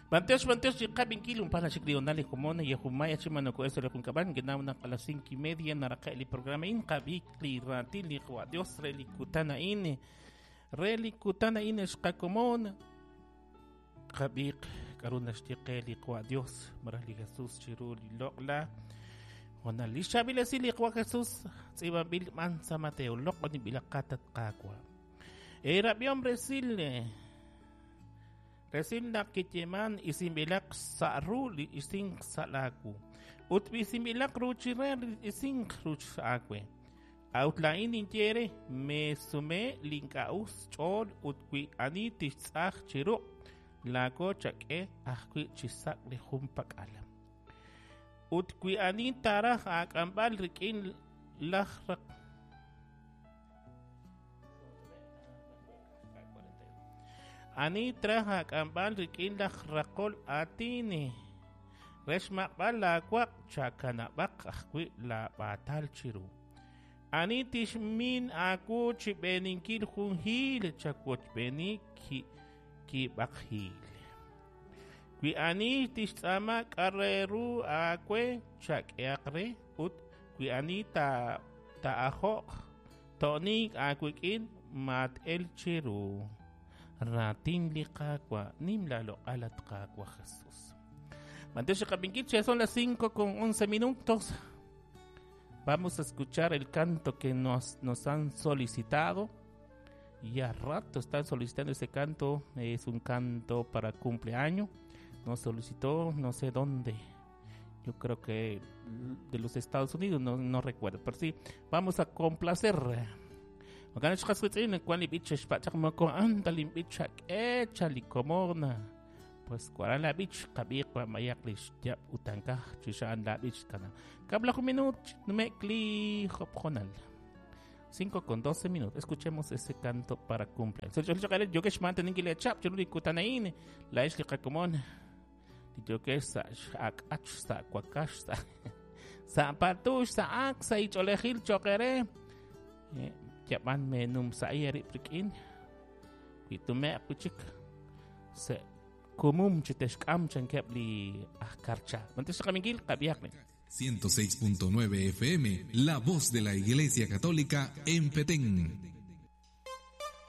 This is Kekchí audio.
Bantiox, bantiox, chiqabinkil un pala chikrional jumona y jumaya chimano eso le junkaban que na a las 5:30 naraka el programa in qabik li ratil li Dios reli kutana in reli kutana in xqakomon qabik karuna xtiqe li Dios marali Jesús chiru li loqla Ona li xabilesi li Jesús tz'ibanbil man sa Mateo loqoni bilaqatat qaqwa Erabiom resil Resil naq kiyeman isinbilaq sa' ru li isink sa' laawu ut isinbilaq ruuchi re li isink ruuch aawe. A'ut laa'in ninye re meesume li ink'a' us ch'ool ut wi ani tixtz'aj chi ruq' laako chak'e ajwi' chi sak' li junpak'al. Ut wi ani taaraj aak'amb'al rik'in laj raq Ani traj aak'amb'al rik'in laj raqol aatin re xmaq'b'al laawaq' chakanab'aq ajwi' laab'aatal chiru. Ani tixmin aawu chi b'eeninkil jun hiil chawochb'eeni kiib'aq hiil. Wi ani tixtz'aama k'a' re ru aawe chak'ehaq re ut wi ani taa'ajo'q to'nink aawik'in mat-el chiru. Raatin li Qaawa' nim laaloq'al at Qaawa' Jesús. Mantiox qab'inkil che son las 5:11 minutos. Vamos a escuchar el canto que nos han solicitado. Y a rato están solicitando ese canto. Es un canto para cumpleaños. Nos solicitó no sé dónde. Yo creo que de los Estados Unidos, no recuerdo. Pero sí, vamos a complacer. Pues cuaran la bich kabiq wa mayak li xyab utankaj chixan la bich kana. Kabla minut numekli hopjonal. 5:12 minutos. Escuchemos ese canto para cumpleaños. Yo que xmanten chap chururi kutanain la ixli qakomon. Yo que sa akach sa kwakash sa sa patush sa ak sa icholejil chokere. Yaban menum sa iri prikin. Kuitume kuchik se kumum chitexkam chankeb li ajkarcha. Mantes kamingil kabiakne. 106.9 FM, la voz de la Iglesia Católica en Petén.